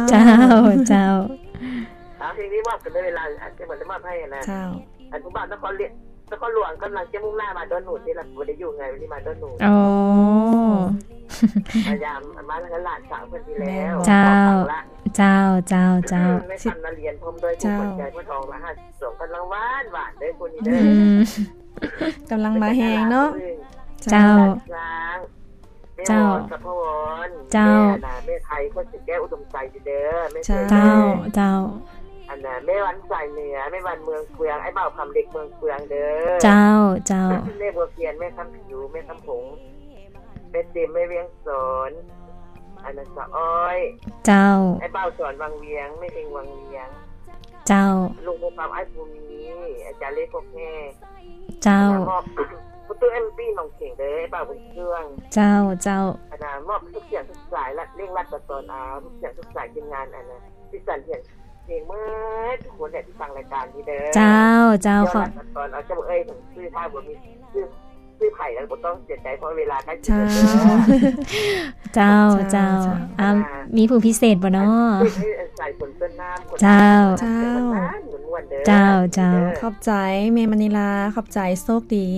ເຈົ້າ ເຈົ້າ ເອົາ ເພງນີ້ມອບກັນເລີຍ ເວລາ ອັນ ຈະໝົດ ໄດ້ມອບໃຫ້ນະ ເຈົ້າ ອັນ ຜູ້ບ່າວນະຄອນຫຼວງ ນະຄອນຫຼວງກຳລັງຈະມຸ່ງໜ້າມາດອນໜູນ ທີ່ລະບໍ່ໄດ້ຢູ່ໄງ ວັນນີ້ມາດອນໜູນ ອໍ ມາຢາມ ມາທາງຫຼານສາວເພິ່ນນີ້ແລ້ວ ເຈົ້າ ເຈົ້າ ເຈົ້າ ເຈົ້າ ແມ່ຄຳນະລຽນ ພ້ອມດ້ວຍຜູ້ຂວັນໃຈ ເພິ່ນອອກລະຫ້າສິບສອງ ກຳລັງຫວານໆເດີ ຜູ້ນີ້ເດີ ອືມ ກຳລັງມາແຮງເນາະ ເຈົ້າ ແມ່ອອນ ສະພາວອນ ເຈົ້າ ແມ່ນະ ແມ່ໄພ ຄົນສະແກ້ວ ອຸດົມໄຊເດີ ແມ່ ເຈົ້າ ເຈົ້າ ອັນນະ ແມ່ວັນສາຍເໜືອ ແມ່ວັນເມືອງເຟືອງ ອ້າຍບ່າວຄຳເລັກເມືອງເຟືອງເດີ ເຈົ້າ ເຈົ້າ ແມ່ບົວພຽນ ແມ່ຄຳຜິວ ແມ່ຄຳຜົງ ແມ່ເຕັມ ແມ່ວຽງສອນ ອັນນະ ສາວອ້ອຍ ເຈົ້າ ອ້າຍບ່າວສອນວັງວຽງ ແມ່ເຮັງວັງວຽງ ເຈົ້າ ລຸງໝູ່ຄຳ ອ້າຍພູມີ ອາຈານເລກ ກົກແຮ່ ເຈົ້າ ມອບປະຕູ ເອັມ ປີ ໜອງເຂງເດີ ອ້າຍບ່າວບຸນເຄື່ອງ ເຈົ້າ ເຈົ້າ ອັນນະ ມອບທຸກສຽງທຸກສາຍ ແລະ ເລັ່ງລັດຕະຕອນ ເອົາທຸກສຽງທຸກສາຍ ທີມງານ ອັນນະ ທີ່ສັນເພງ ເພງໝົດທຸກຄົນແຫຼະ ທີ່ຟັງລາຍການນີ້ເດີ ເຈົ້າ ເຈົ້າ ເຈົ້າ ຂໍ ຕອນເອົາ ເຈົ້າເອີຍ ຊື່ຖ້າບໍ່ມີ ຊື່ ຊື່ໃຜແລ້ວບໍ່ຕ້ອງເສຍໃຈ ເພາະເວລາໃກ້ຊິໝົດເດີ ເຈົ້າ ເຈົ້າ ເຈົ້າ ເຈົ້າ ອ່າ ມີຜູ້ພິເສດບໍ່ນໍ ເຈົ້າ ເຈົ້າ ເຈົ້າ ຂອບໃຈແມ່ມະນີລາ ຂອບໃຈ ໂຊກດີ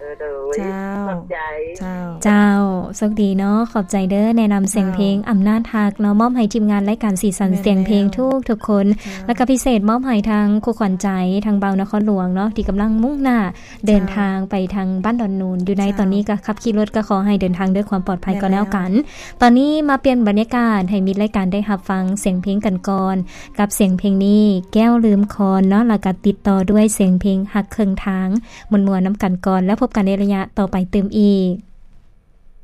ເອີ ໂດຍ ເຈົ້າ ຂອບໃຈ ເຈົ້າ ເຈົ້າ ໂຊກດີເນາະ ຂອບໃຈເດີ ແນະນຳສຽງເພງ ເຈົ້າ ອຳນາດຮັກເນາະ ມອບໃຫ້ທີມງານລາຍການສີສັນ ແມ່ນແລ້ວ ສຽງເພງທຸກໆຄົນ ເຈົ້າ ແລ້ວກໍພິເສດມອບໃຫ້ທາງຄູ່ຂວັນໃຈ ທາງບ່າວນະຄອນຫຼວງເນາະ ທີ່ກຳລັງມຸ່ງໜ້າ ເດີນທາງໄປທາງບ້ານດອນນູນ ເຈົ້າ ຢູ່ໃນຕອນນີ້ກໍຂັບຂີ່ລົດກໍຂໍໃຫ້ເດີນທາງດ້ວຍຄວາມປອດໄພກໍແລ້ວກັນ ແມ່ນແລ້ວ ຕອນນີ້ມາປ່ຽນບັນຍາກາດໃຫ້ມິດລາຍການໄດ້ຮັບຟັງສຽງເພງກັນກ່ອນ ກັບສຽງເພງນີ້ ແກ້ວລືມຄອນເນາະ ແລ້ວກໍຕິດຕໍ່ດ້ວຍສຽງເພງຮັກເຄິ່ງທາງ ມ່ວນໆນຳກັນກ່ອນ ແລ້ວພົບກັນໃນໄລຍະຕໍ່ໄປຕື່ມອີກ.